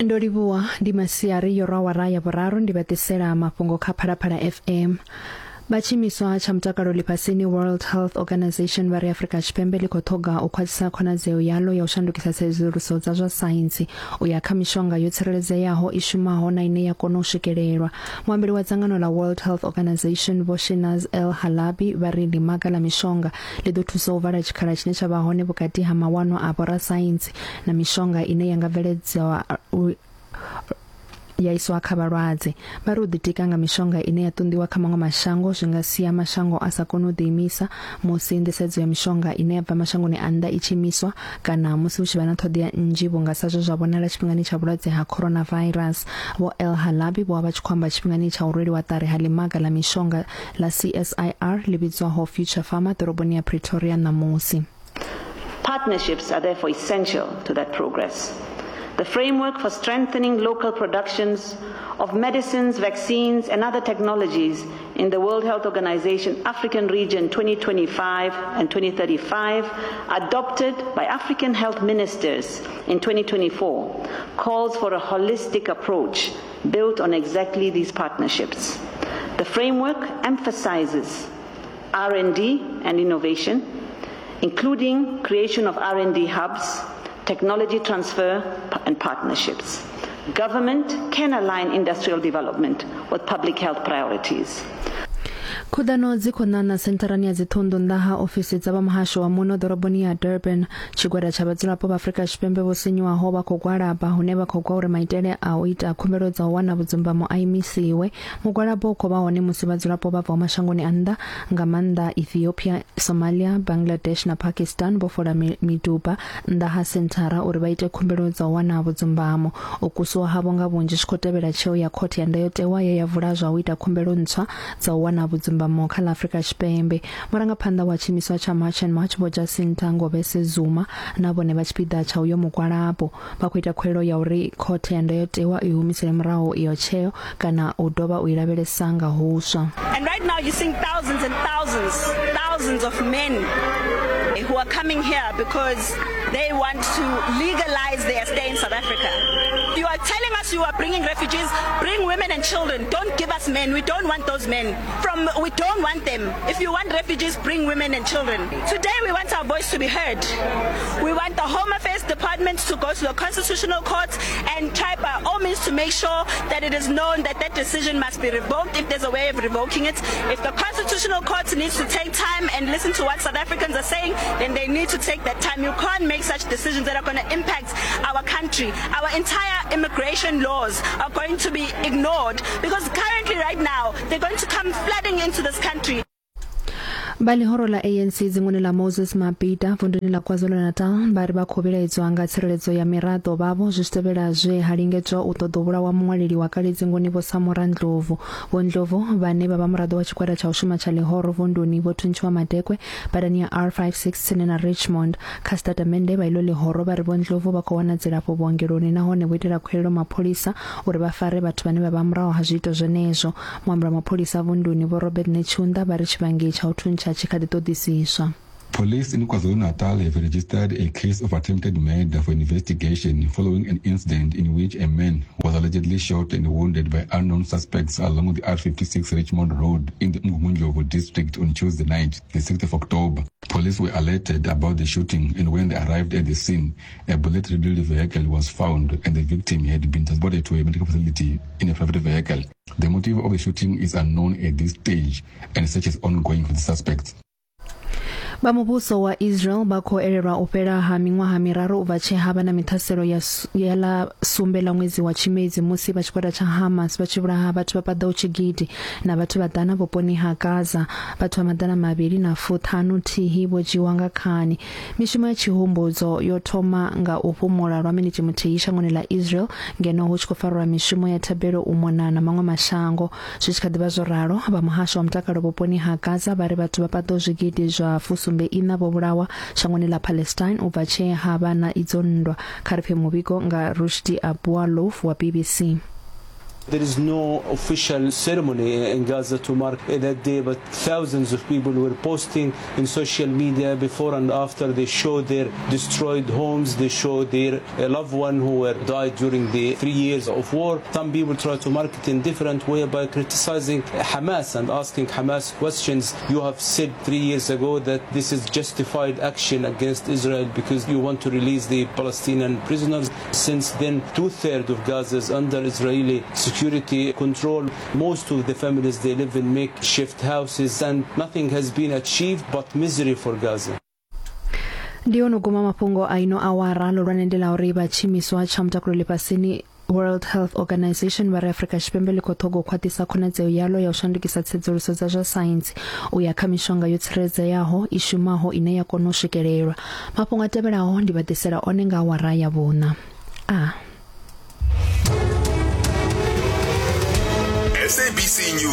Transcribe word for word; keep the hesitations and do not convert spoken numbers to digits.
Ndo livhuwa ndi masiari yo rwa awara ya vhuraru ndi vha ḓisela mafhungo kha Phalaphala F M. Vha tshiimiswa tsha mutakalo ḽifhasini World Health Organization vha ri Afrika Tshipembe ḽi khou ṱhoga u khwaṱhisa khonadzeo yaḽo ya u shandukisa tsedzuluso dza zwa saintsi u ya kha mishonga yo tsireledzeaho i shumaho na ine ya kona u swikelelwa. Muambeli wa dzangano ḽa World Health Organization Vho Shinaz El Halabi vha ri ḽimaga ḽa mishonga ḽi ḓo thusa u vala tshikhala tshine tsha vha hone vhukati ha mawanwa a vhorasaintsi na mishonga ine ya nga bveledzwa ya iswa kha vhalwadze. Vha ri u ḓitika nga mishonga ine ya ṱunḓiwa kha maṅwe mashango zwi nga sia mashango a sa koni u ḓiimisa musi nḓisedzo ya mishonga ine ya bva mashangoni a nnḓa i tshi imiswa kana musi hu tshi vha na ṱhoḓea nnzhi vhunga sa zwe zwa vhonala tshifhingani tsha vhulwadze ha coronavirus. Vho El Halabi vho vha vha tshi khou amba tshifhingani tsha u rweliwa ṱari ha ḽimaga ḽa mishonga ḽa C S I R ḽi vhidzwaho Future Pharma ḓoroboni ya Pretoria ṋamusi. Partnerships are therefore essential to that progress. The framework for strengthening local productions of medicines, vaccines, and other technologies in the World Health Organization African Region twenty twenty-five and twenty thirty-five, adopted by African health ministers in twenty twenty-four, calls for a holistic approach built on exactly these partnerships. The framework emphasizes R and D and innovation, including creation of R and D hubs, technology transfer and partnerships. Government can align industrial development with public health priorities. Khuḓano dzi khou ṋaṋa sentharani ya dziṱhunḓu nnḓa ha ofisi dza vha muhasho wa muno ḓoroboni ya Durban. Tshigwada tsha vhadzulapo vha Afrika Tshipembe vho sinyuwaho vha khou gwalaba hune vha khou gwa uri maitele a u ita khumbelo dza u wana vhudzumbamo a imisiwe. Mugwalabo u khou vha hone musi vhadzulapo vha bvaho mashangoni a nnḓa nga maanḓa Ethiopia, Somalia, Bangladesh na Pakistan vho fola miduba nnḓa ha senthara uri vha ite khumbelo dza u wana vhudzumbamo. U kusiwa havho nga vhunzhi zwi khou tevhela tsheo ya khothe ya ndayotewa ye ya vula zwa u ita khumbelo ntswa dza u wana vhudzumbamo kha ḽa Afrika Tshipembe. Murangaphanḓa wa tshiimiswa tsha March and March Vho Jacinta Ngobese Zuma na vhone vha tshipiḓa tsha uyo mugwalabo vha khou ita khuwelelo ya uri khothe ya ndayotewa i humisele murahu iyo tsheo kana u dovha u i lavhelesa nga huswa. And right now you're seeing thousands and thousands, thousands of men who are coming here because they want to legalize their stay in South Africa. You are telling us you are bringing refugees, bring women and children. Don't give us men. We don't want those men. From we don't want them. If you want refugees, bring women and children. Today we want our voice to be heard. We want the Home Affairs Department to go to the Constitutional Court and try by all means to make sure that it is known that that decision must be revoked if there's a way of revoking it. If the Constitutional Court needs to take time and listen to what South Africans are saying, then they need to take that time. You can't make such decisions that are going to impact our country. Our entire immigration laws are going to be ignored because currently right now they're going to come flooding into this country. Vha ḽihoro ḽa A N C dzinguni ḽa Moses Mabhida vunduni ḽa KwaZulu-Natal vha ri vha khou vhilaedzwa nga tsireledzo ya miraḓo vhavho zwi tshi tevhela zwe ha lingedzwa u ṱoḓa u vhulawa muṅwaleli wa kale dzinguni Vho Samora Ndlovu. Vho Ndlovu vhane vha vha muraḓo wa tshigwada tsha u shuma tsha ḽihoro vunduni vho thuntshiwa madekwe badani ya R five six tsini na Richmond. Kha sitatamennde vha ilo ḽihoro vha ri Vho Ndlovu vha khou wana dzilafho vhuongeloni nahone vho itela khuwelelo mapholisa uri vha fare vhathu vhane vha vha murahu ha zwiito zwenezwo. Muambeli wa mapholisa vunduni Vho Robert Netshiunda vha ri tshivhangi tsha u thuntsha. Police in KwaZulu-Natal have registered a case of attempted murder for investigation following an incident in which a man was allegedly shot and wounded by unknown suspects along the R fifty-six Richmond Road in the Mgungundlovu district on Tuesday night, the sixth of October. Police were alerted about the shooting, and when they arrived at the scene, a bullet-riddled vehicle was found and the victim had been transported to a medical facility in a private vehicle. The motive of the shooting is unknown at this stage, and search is ongoing for the suspects. Vha muvhuso wa Israel vha khou elelwa u fhela ha miṅwaha miraru u bva tshe ha vha na miṱhaselo ya ya ḽa sumbe ḽa ṅwedzi wa Tshimedzi musi vha tshigwada tsha Hamas vha tshi vhulaha vhathu vha paḓaho tshigidi na vhathu vha ḓana vhuponi ha Gaza. Vhathu vha maḓana mavhili na fuṱhanu thihi vho dzhiwa nga khani. Mishumo ya tshihumbudzo yo thoma nga u fhumula lwa miniti muthihi shangoni ḽa Israel ngeno hu tshi khou farwa mishumo ya thabelo u mona na maṅwe mashango. Zwi tshi kha ḓi vha zwo ralo, vha muhasho wa mutakalo vhuponi ha Gaza vha ri vhathu vha paḓaho zwigidi zwa fusumbe ina vho vhulawa shangoni ḽa Palestine u bva tshe ha vha na idzo nndwa. Kha ri pfe muvhigo nga Rushdi Abualouf wa B B C. There is no official ceremony in Gaza to mark that day, but thousands of people were posting in social media before and after. They show their destroyed homes, they show their loved one who were died during the three years of war. Some people try to mark it in different way by criticizing Hamas and asking Hamas questions. You have said three years ago that this is justified action against Israel because you want to release the Palestinian prisoners. Since then, two-thirds of Gaza is under Israeli security control. Most of the families, they live in makeshift houses, and nothing has been achieved but misery for Gaza. Ndi ono guma mafhungo a ino awara lolwane ndi la uri vha tshimiswa tsha mutakalo ḽifhasini World Health Organization vha ri Afrika Tshipembe ḽi khou ṱhoga u khwaṱhisa khonadzeo yalo ya u shandukisa tsedzuluso dza zwa saintsi u ya kha mishonga yo tsireledzeaho i shumaho ine ya kona u swikelelwa. Mafhungo a tevhelaho ndi vha ḓisela one nga awara ya vhuṋa. A S A B C News.